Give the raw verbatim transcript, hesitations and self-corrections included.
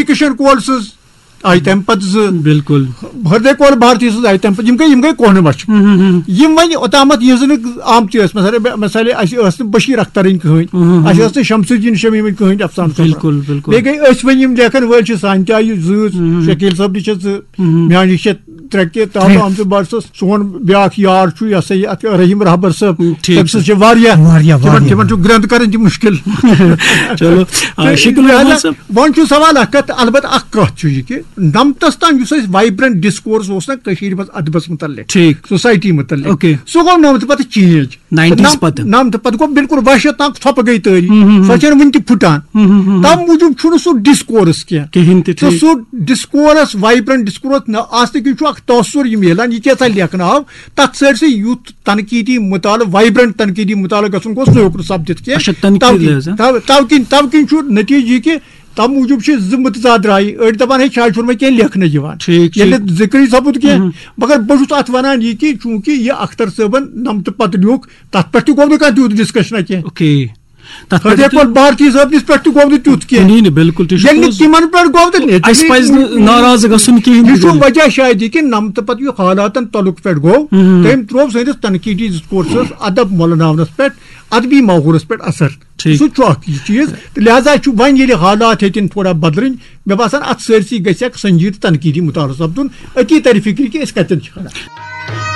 کشن کول سٕنٛز آیہِ تَمہِ پتہٕ زٕ۔ بالکل۔ ہردے کول بھارتی سٕنٛز آیہِ تَمہِ پتہٕ، یِم گٔے، یِم گٔے کوہنہٕ مچھِ۔ یِم وۄنۍ اوٚتامَتھ یِہٕنٛز نہٕ آمتی ٲسۍ، مثلاً، مثلاً اَسہِ ٲس نہٕ بشیٖر اخترٕنۍ کٕہٕنۍ، اَسہِ ٲس نہٕ شمس الدین شمیٖمٕنۍ کٕہٕنۍ افسانہٕ سفر۔ بالکل، بالکل۔ بیٚیہِ گٔے أسۍ وۄنۍ یِم لیکھن وٲلۍ چھِ، سانہِ تہِ آیہِ زٕ، شکیٖل صٲبنہِ چھِ زٕ، میٛانہِ چھِ ترٛےٚ کہِ تاو آمژٕ بڑٕ سُہ سون بیٛاکھ یار چھُ، یہِ ہسا یہِ اَتھ رحیٖم رہبر صٲب، ٹھیٖک تٔمۍ سٕنٛز چھِ۔ چھِ واریاہ، واریاہ، تِمن، واریاہ۔ تِمن چھُ گرٛنٛد کرٕنۍ تہِ مُشکِل۔ چلو، آ، شکیٖل رحمان صٲب۔ وۄنۍ چھُ سوال اکھ کتھ، البتہٕ اکھ کتھ چھُ یہِ کہِ نمتس تام یُس اَسہِ وایبرنٹ ڈسکورس اوس نا کٔشیٖرِ منٛز ادبس متعلق، ٹھیٖک۔ سوسایٹی متعلق، اوکے۔ سُہ گوٚو نمتہٕ پتہٕ چینج۔ ناینٹیٖز پتہٕ۔ نمتہٕ پتہٕ گوٚو بالکل وحشتناک ژھۄپہٕ گٔے تٲری۔ سۄ چھَنہٕ وٕنہِ تہِ پھُٹان۔ تَمہِ موٗجوٗب چھُنہٕ سُہ ڈسکورس کینٛہہ۔ کِہیٖنۍ تہِ، تہٕ ٹھیٖک۔ سُہ ڈسکورس، وایبرنٹ ڈسکورس نہ آسنہٕ کِنۍ چھُ اکھ تاثر یہِ میلان، یہِ کیٛاہ سا لیکھنہٕ آو۔ تَتھ سٲرسٕے یُتھ تنقیٖدی مُطالعہٕ، وایبرنٹ تنقیٖدی مُطالعہٕ گژھُن گوٚژھ، سُہ ہیوٚک نہٕ سپدِتھ کینٛہہ۔ اچھا، تنقیٖد توٕ کِنۍ، لحاظ، ہاں۔ توٕ، توٕ کِنۍ، توٕ کِنۍ چھُ نتیٖجہٕ یہِ کہِ تَمہِ موٗجوٗب چھِ زٕ مُتضاد رایہِ۔ أڑۍ دَپان، ہے، شاید چھُنہٕ وۄنۍ کینٛہہ لیکھنَے یِوان۔ ٹھیٖک، ییٚلہِ ٹھیٖک۔ نہٕ ذِکرٕے سَپُد کینٛہہ۔ مگر بہٕ چھُس اَتھ وَنان یہِ کہِ چوٗنٛکہِ یہِ اختر صٲبَن نَمتہٕ پَتہٕ لیوٗکھ، تَتھ پٮ۪ٹھ تہِ گوٚو نہٕ کانٛہہ تیوٗت ڈِسکشنا کینٛہہ۔ اوکے۔ تَتھ پٮ۪ٹھ ہردے تہِ کول بھارتی صٲب نِس پٮ۪ٹھ تہِ گوٚو نہٕ تیُتھ کینٛہہ۔ کِہیٖنۍ نہٕ، بالکل، تہِ چھُ ییٚلہِ نہٕ پوٚز۔ تِمَن پٮ۪ٹھ گوٚو تہٕ نہ، اَسہِ پَزِ نہٕ ناراض گژھُن کِہیٖنۍ یہِ تہِ چھُ گوٚو نہٕ۔ وجہ شاید یہِ کہِ نَمتہٕ پَتہٕ یُتھ حالاتَن تعلق پٮ۪ٹھ گوٚو، تٔمۍ ترٛوو سٲنِس تنقیٖدی ڈِسکورسَس، ادب مۄلناونَس پٮ۪ٹھ، ادبی ماحولَس پٮ۪ٹھ اثر۔ ٹھیٖک۔ سُہ چھُ اَکھ یہِ چیٖز۔ تہٕ لہذا چھُ وۄنۍ ییٚلہِ حالات ہیٚتِن تھوڑا بدلٕنۍ، مےٚ باسان اَتھ سٲرسٕے گژھِ اَکھ سنجیٖدٕ تنقیٖدی مُطالعہٕ سَپدُن، أتی تَرِ فِکرِ کہِ أسۍ کَتٮ۪ن چھِ کھڑا۔